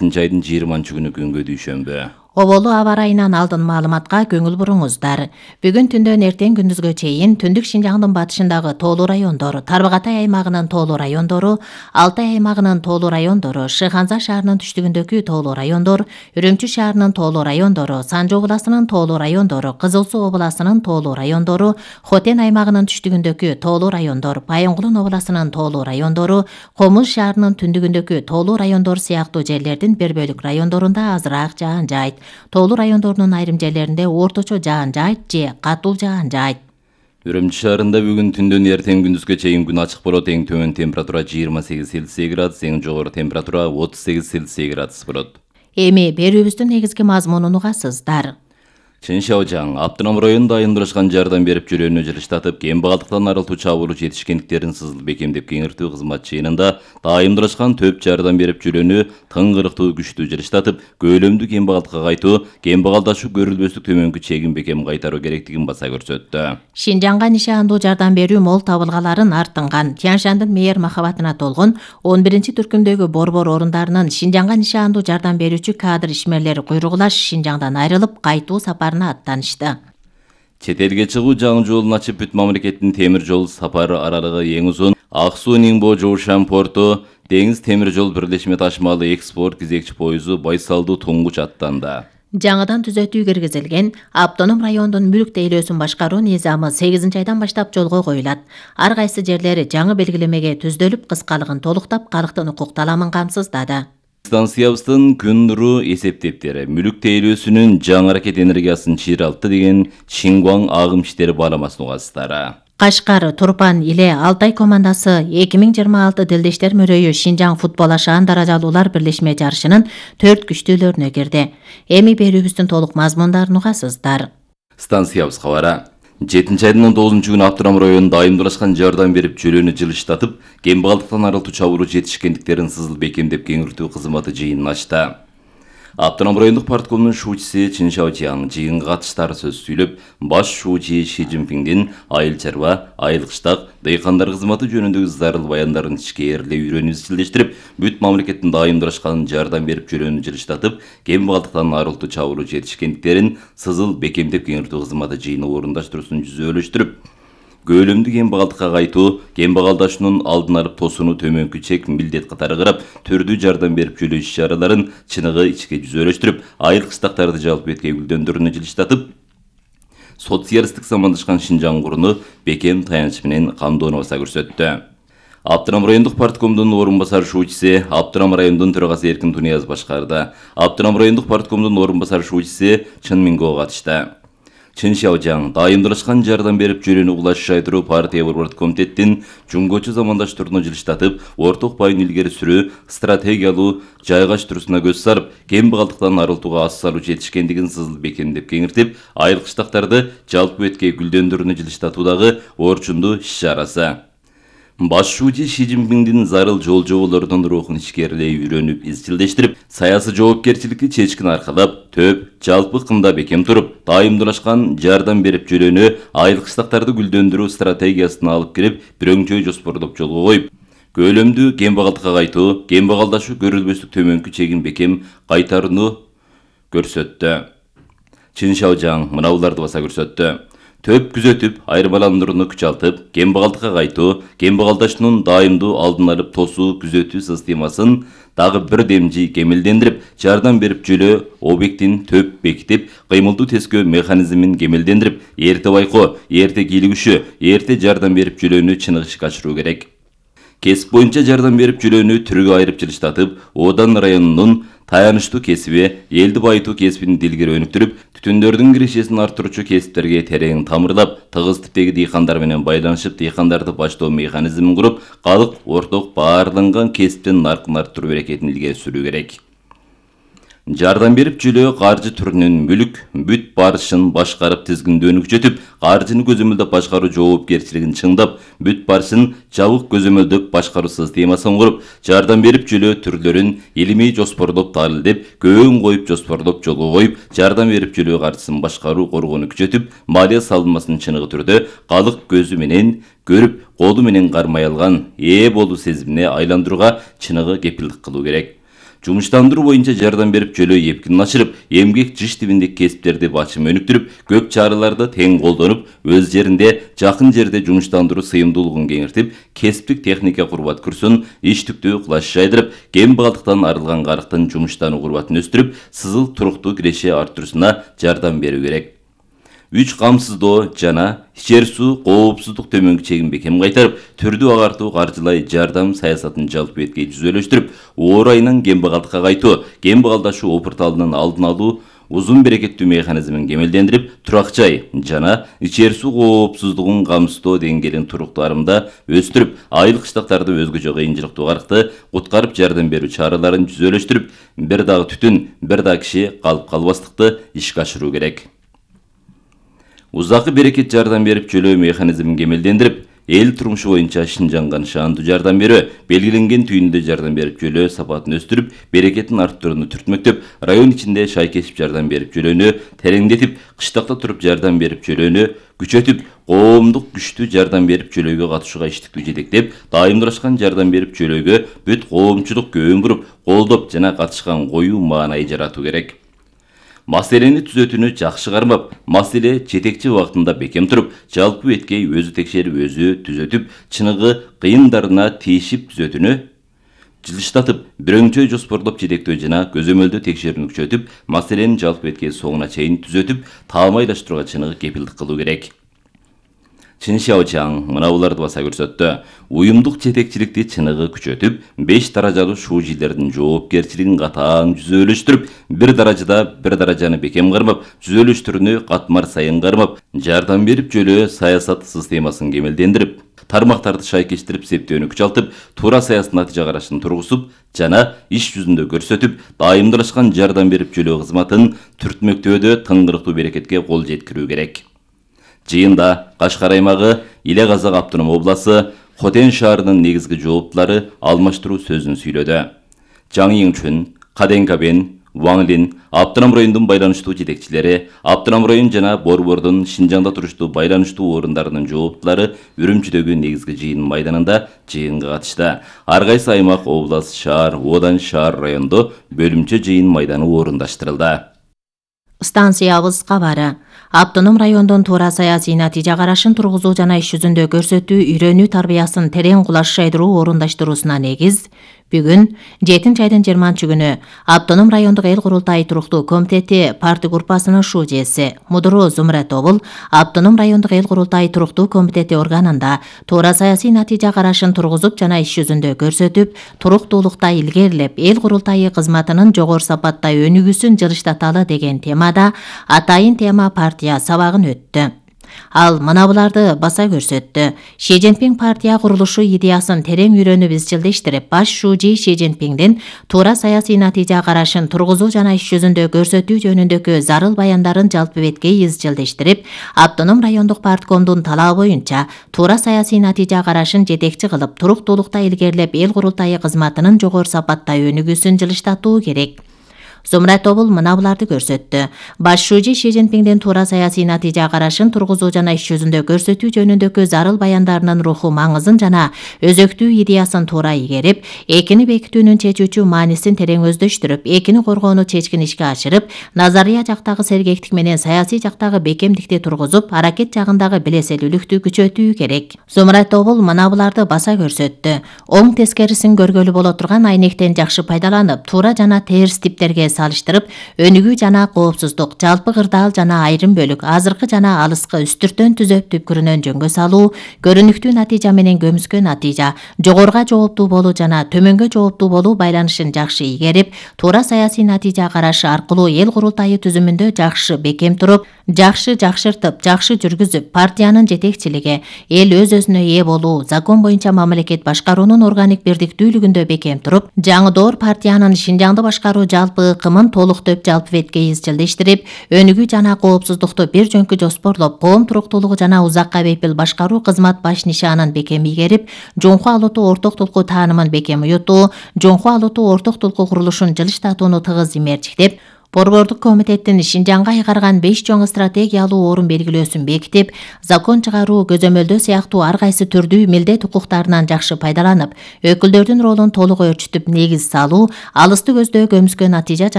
айдын 20-күнү күнгө дүйшөмбү. Оболу аба ырайынан алдын маалыматка көңүл буруңуздар. Бүгүн түндөн эртең күндүзгө чейин Түндүк Шинжаңдын батышындагы тоолуу райондор, Тарбагатай аймагынын тоолуу райондору, Алтай аймагынын тоолуу райондору, Шыханза шаарынын түштүгүндөгү тоолуу райондор, Үрүмчү шаарынын тоолуу райондору, Санжы областынын тоолуу райондору, Кызыл Суу областынын тоолуу райондору, Хотен аймагынын түштүгүндөгү тоолуу райондор, Байынгулун областынын тоолуу райондору, Комуз шаарынын түндүгүндөгү тоолуу райондор сыяктуу жерлердин бир бөлүк райондорунда азыраак жаан жайт. Тоолуу райондордун айрым жерлеринде орточо жаан жайт же катуу жаан жайт. Үрүмчү шаарында бүгүн түндөн эртең күндүзгө чейин күн ачык болот. Эң төмөн температура 28 Цельсий градус, эң жогору температура 38 Цельсий градус болот. Эми берүүбүздүн негизги мазмунун угасыздар. Чын Шаожаң Аптырам районунда айымдырышкан жардам берип жүрүүнү жылыштатып, кембагалдыктан арылтуу чабуулу жетишкендиктерин сызыл бекемдеп кеңиртүү кызмат жыйынында айымдырышкан төп жардам берип жүрүүнү тыңгырыктуу күчтүү жылыштатып, көөлөмдүү кембагалдыкка кайтуу, кембагалдашуу көрүлбөстүк төмөнкү чегин бекем кайтаруу керектигин баса көрсөттү. Шинжаңга нишаандуу жардам берүү мол табылгаларын артынган, Тянь-Шандын мээр махабатына толгон 11-түркүмдөгү борбор орундарынын Шинжаңга нишаандуу жардам берүүчү кадр ишмерлери куйругулаш Шинжаңдан айрылып кайтуу сапарына аттанышты. Чет элге чыгуу жаңы жолун ачып, бүт мамлекеттин темир жол сапары аралыгы эң узун Ак Суу Нingbo Жоушан порту Деңиз темир жол бирлешме ташмалы экспорт кезекчи поезу Байсалдуу туңгуч аттанды. Жаңыдан түзөтүү киргизилген автоном райондун мүлк тейлөөсүн башкаруу низамы 8-айдан баштап жолго коюлат. Ар кайсы жерлери жаңы белгилемеге түздөлүп, кыскалыгын толуктап, калктын укук таламын камсыздады. Станциябыздын күн нуру эсептептери мүлк тейлөөсүнүн жаңы аракет энергиясын чыйралтты деген Шингуаң агым иштери бааламасын угасыздары. Кашкар, Турпан, Иле, Алтай командасы 2026 Дилдештер мөрөйү Шинжаң футбол ашаан даражалуулар бирлешме жарышынын 4 күчтүүлөрүнө кирди. Эми берүүбүздүн толук мазмундарын угасыздар. Станциябыз кабары 7-айдын 19-күнү Аптырам районунда айымдырышкан жардам берип жүрүүнү жылыштатып, кембагалдыктан арылтуу чабуулу жетишкендиктерин сызыл бекемдеп кеңиртүү кызматы жыйынын ачты. Аптырам райондук парткомдун шуучусу Чын Шаожаң жыйынга катыштар сөз сүйлөп, баш шуучу Ши Цзиньпиңдин айыл чарба, айыл кыштак, дыйкандар кызматы жөнүндөгү зарыл баяндарын ичкээрлей үйрөнүп изчилдештирип, бүт мамлекеттин айымдырышкан жардам берип жүрүүнү жылыштатып, кембагалдыктан арылтуу чабуулу жетишкендиктерин сызыл бекемдеп кеңиртүү кызматы жыйыны орундаштыруусун жүзөлөштүрүп, көөлөмдүү кембагалдыкка кайтуу, кембагалдашуунун алдын алып тосууну төмөнкү чек милдет катары карап, түрдүү жардам берип жүрүү иш-чараларын чыныгы ичке жүзөлөштүрүп, айыл кыштактарды жалпы этке гүлдөндүрүүнү жылыштатып, социалисттик замандашкан Шинжаң куруну бекем таяныч менен камдоону баса көрсөттү. Аптырам райондук парткомдун орун басар шуучусу Аптырам райондун төрагасы Эркин Тунияз башкарды. Аптырам райондук парткомдун орун басар шуучусу Чын Минго катышты. Чын Шаожаң айымдырышкан жардам берип жүрүүнү улашыш айтыруу партия борбордук комитеттин жумгочу замандаштарына жылыштатып, орток байын илгери сүрүү стратегиялуу жайгаштыруусуна көз сарып, кембагалдыктан арылтууга аз салуу жетишкендигин сызыл бекемдеп кеңиртип, айыл кыштактарды жалпы этке гүлдөндүрүүнү жылыштатуудагы орчундуу иш-чарасы. Баш шуучу Ши Цзиньпиңдин зарыл жол жоболорунун рухун ичкээрлей үйрөнүп, изчилдештирип, саясий жоопкерчиликти чечкин аркалап, төп, жалпы кымда бекем туруп, айымдырышкан жардам берип жүрүүнү айыл кыштактарды гүлдөндүрүү стратегиясына алып кирип, бирөңчөй жоспордоп жолго коюп, көөлөмдүү кембагалдыкка кайтуу, кембагалдашуу көрүлбөстүк төмөнкү чегин бекем кайтарууну көрсөттү. Чын Шаожаң мына буларды баса көрсөттү. Төп күзөтүп, айырмаландырууну күчалтып, кембагалдыкка кайтуу, кембагалдашуунун дайымдуу алдын алып тосуу күзөтүү системасын дагы бир демжи кемелдендирип, жардам берип жүрүү объектин төп бекитип, кыймылдуу тескөө механизмин кемелдендирип, эрте байкоо, эрте кийлигишүү, эрте жардам берип жүрүүнү чыныгы ишке ашыруу керек. Кесип боюнча жардам берип жүрүүнү түргө айырып жылыштатып, Одан районунун таянычтуу кесиби, элди байытуу кесибин дилгери өнүктүрүп, түтүндөрдүн кирешесин арттыруучу кесиптерге терең тамырлап, тыгыз типтеги дыйкандар менен байланышып, дыйкандарды баштоо механизмин куруп, калк орток баарланган кесиптин наркын арттыруу аракетин илгери сүрүү керек. Жардам берип жүрүү каржы түрүнүн мүлк, бүт барышын башкарып тизгиндөөнү күчөтүп, каржыны көзөмөлдөп башкаруу жоопкерчилигин чыңдап, бүт барышын жабык көзөмөлдөп башкаруу системасын куруп, жардам берип жүрүү түрлөрүн илимий жоспордоп таалилдеп, көөн коюп жоспордоп жолго коюп, жардам берип жүрүү каржысын башкаруу коргоону күчөтүп, малия салынмасын чыныгы түрдө калк көзү менен көрүп, колу менен кармай алган болуу сезимине айландырууга чыныгы кепилдик кылуу керек. Жумуштандыруу боюнча жардам берип жөлөө эпкинин ачырып, эмгек жыш тибиндеги кесиптерди бачым өнүктүрүп, көк чараларды тең колдонуп, өз жеринде, жакын жерде жумуштандыруу сыйымдуулугун кеңиртип, кесиптик техника курбат курсун, иштиктүү кулаш жайдырып, кембагалдыктан арылган карыктын жумуштануу курбатын өстүрүп, сызыл туруктуу киреше арттырууна жардам берүү керек. 3 камсыздоо жана ичер суу коопсуздук төмөнкү чегин бекем кайтарып, түрдүү агартуу каржылай жардам саясатын жалпы беткей түзөлүштүрүп, оор айынан кембагалдыкка кайтуу, кембагалдашуу опурталынын алдын алуу, узун берекеттүү механизмин кемелдендирип, турак жай жана ичер суу коопсуздугун камсыздоо деңгээлин туруктуу арымда өстүрүп, айыл кыштактарды өзгөчө кыйынчылыктуу карыкты куткарып жардам берүү чараларын түзөлүштүрүп, бир дагы түтүн, бир дагы киши калып калбастыкты ишке ашыруу керек. Узакы берекет жардам берип жөлөө механизмин кемелдендирип, эл турмушу боюнча Шинжанга шаандуу жардам берүү, белгиленген түйүндө жардам берип жөлөө сапатын өстүрүп, берекетин арттырууну түртмөктөп, район ичинде шай кесип жардам берип жөлөөнү тереңдетип, кыштакта туруп жардам берип жөлөөнү күчөтүп, коомдук күчтүү жардам берип жөлөөгө катышууга иштиктүү жетектеп, дайымдашкан жардам берип жөлөөгө бүт коомчулук көбүн буруп, колдоп жана катышкан коюу маанай жаратуу керек. Маселени түзөтүүнү жакшы кармап, маселе жетекчи убактында бекем туруп, жалпы беткей өзү текшерип өзү түзөтүп, чыныгы кыйындарына тийишип түзөтүүнү жылыштатып, бирөңчөй жоспорлоп жетектөө жана көзөмөлдөө текшерүүнү күчөтүп, маселенин жалпы беткей соңуна чейин түзөтүп, таамайлаштырууга чыныгы кепилдик кылуу керек. Чын Шаочаң мына буларды баса көрсөттү. Уюмдук жетекчиликти чыныгы күчөтүп, 5 даражалуу шуужилердин жоопкерчилигин катаң түзөлүштүрүп, бир даражаны бекем кармап, түзөлүштөрүнү катмар сайын кармап, жардам берип жөлөө саясат системасын кемелдендирип, тармактарды шайкештирип, септөөнү күчалтып, туура саясий натыйжа карашын тургузуп жана иш жүзүндө көрсөтүп, дайымдашкан жардам берип жөлөө кызматын түртмөктөөдө тыңгырыктуу берекетке кол жеткирүү керек. Жыйында Кашкар аймагы, Иле Казак автоном обласы, Хотен шаарынын негизги жооптулары алмаштыруу сөзүн сүйлөдү. Жаңы Еңчүн, Каденкабен, Ваңлин, автоном райондун байланыштуу жетекчилери, автоном район жана Борбордун Шинжаңда туруштуу байланыштуу орундарынын жооптулары Үрүмчүдөгү негизги жыйын майданында жыйынга катышты. Ар кайсы аймак, область, шаар, одан шаар райондо бөлүмчө жыйын майданы орундаштырылды. Станциябыз кабары. Автоном райондон туура саясий натыйжа карашын тургузуу жана иш жүзүндө көрсөтүү, үйрөнүү тарбиясын терең кулаш жайдыруу орундаштыруусуна негиз бүгүн 7 айдын 20-күнү Автоном райондук эл курултайы туруктуу комитети партия группасынын шужеси Мудуру Зумрат Обул Автоном райондук эл курултайы туруктуу комитети органында туура саясий натыйжа карашын тургузуп жана иш жүзүндө көрсөтүп, туруктуулукта илгерилеп, эл курултайы кызматынын жогору сапаттай өнүгүүсүн жылыштаталы деген темада атайын тема партия сабагын өттү. Ал мына буларды баса көрсөттү. Ши Цзиньпин партия курулушу идеясын терең үйрөнүп изчилдештирип, баш шужи Ши Цзиньпиндин туура саясий натыйжа карашын тургузуу жана иш жүзүндө көрсөтүү жөнүндөгү зарыл баяндарын жалпы беткей изчилдештирип, Автоном райондук парткомдун талабы боюнча туура саясий натыйжа карашын жетекчи кылып, туруктуулукта илгерилеп, эл курултайы кызматынын жогору сапаттай өнүгүүсүн жылыштатуу керек. Зумрат Обул мына буларды көрсөттү. Баш шужи Ши Цзиньпиндин туура саясий натыйжа карашын тургузуу жана иш жүзүндө көрсөтүү жөнүндөгү зарыл баяндарынын руху маңызын жана өзөктүү идеясын туура игерип, экини бекитүүнүн чечүүчү маанисин терең өздөштүрүп, экини коргоону чечкин ишке ашырып, назария жактагы сергектик менен саясий жактагы бекемдикти тургузуп, аракет жагындагы билеселүүлүктү күчөтүү керек. Зумрат Обул мына буларды баса көрсөттү. Оң тескерисин көргөлү боло турган айнектен жакшы пайдаланып, туура жана терс типтерге салыштырып, өнүгүү жана коопсуздук, жалпы кырдаал жана айрым бөлүк, азыркы жана алыскы үстүртөн түзөп түпкүрүнөн жөнгө салуу, көрүнүктүү натыйжа менен көмүскө натыйжа, жогоруга жооптуу болуу жана төмөнгө жооптуу болуу байланышын жакшы игерип, туура саясий натыйжа карашы аркылуу эл курултайы түзүмүндө жакшы бекем туруп, жакшы жакшыртып, жакшы жүргүзүп, партиянын жетекчилиги, эл өз-өзүнө ээ болуу, закон боюнча мамлекет башкаруунун органик бирдиктүүлүгүндө бекем туруп, жаңыдоор партиянын Шинжаңды башкаруу жалпы ыкымын толуктоп жалпы беткей изчилдештирип, өнүгүү жана коопсуздукту бир жөнкү жоспорлоп, коом туруктуулугу жана узакка бепил башкаруу кызмат баш нишанын бекем игерип, жоңку алутуу орток толку таанымын бекем уютуу, жоңку алутуу орток толку курулушун жылыштатууну тыгыз имерчиктеп, Борбордук комитеттин Шинжаңга айгарган 5 чоң стратегиялуу орун белгилөөсүн бекитип, закон чыгаруу, көзөмөлдөө сыяктуу ар кайсы түрдүү милдет укуктарынан жакшы пайдаланып, өкүлдөрдүн ролун толук өөрчүтүп негиз салуу алысты көздөө көмүскө натыйжа